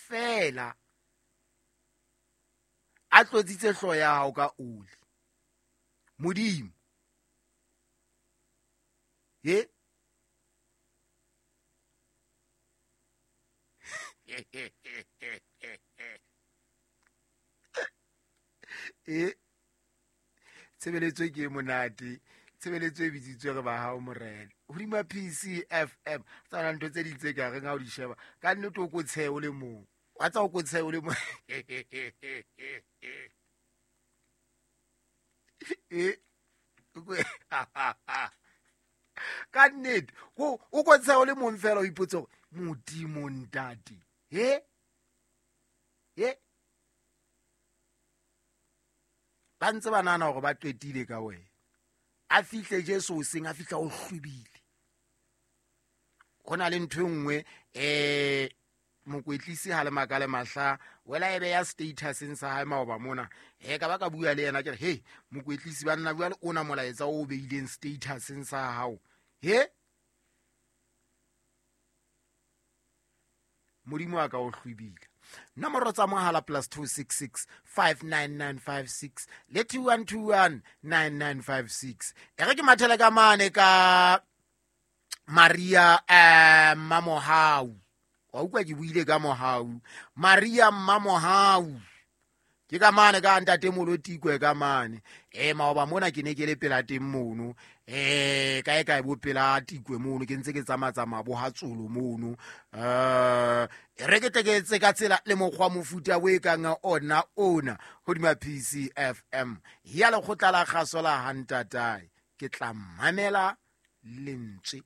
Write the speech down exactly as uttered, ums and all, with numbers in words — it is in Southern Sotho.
Fela a tlotsitse hlooho ya hao ka oli. Modimo. He? E tshebeletso ke monate, tshebeletso e bitsitswe re ba hao morena. Hodima P C F M, tsana ntho tse ding tse ka reng ha o di sheba, ka nnete o ko tshehe o le mong. Wa tsa o ko tshehe o le mong. E ka nnete, o o ko tshehe o le mong fela o ipotse hore Modimo ntate. He? He? Ba ntse ba nahana hore ba qetile ka wena. A fihle Jesu hoseng, a fihla o hlwibile. Ho na le ntho e nngwe, eh, mokwetlisi ha le maka le mahla, wela e beya statuseng sa hae maoba mona. Eh, ka ba ka bua le yena ke re, hey, mokwetlisi ba nna bua le ona molaetsa o beileng statuseng sa hao. He? Modimo a ka o hlwibile. Nomoro tsa mohala plus two six six five nine nine five six le two one two one nine nine five six. E re ke mathele ka mane ka Maria, eh, Mmamohau. Wa utlwa ke buile ka Mohau. Maria Mmamohau. Ke ka mane ka ntate Molotikwe ka mane. Eh, maoba mona ke ne ke le pela teng mono. Eh, kae kae bo pela Tikwe mono, ke ntse ke tsamatsamaya bo ha Tsolo mono. Eh, re ke tle ke etse ka tsela le mokgwa mofuta o e kang ona ona hodima P C F M. Ya lekgotla la kgaso la ha ntatae. Ke tla mamela lentswe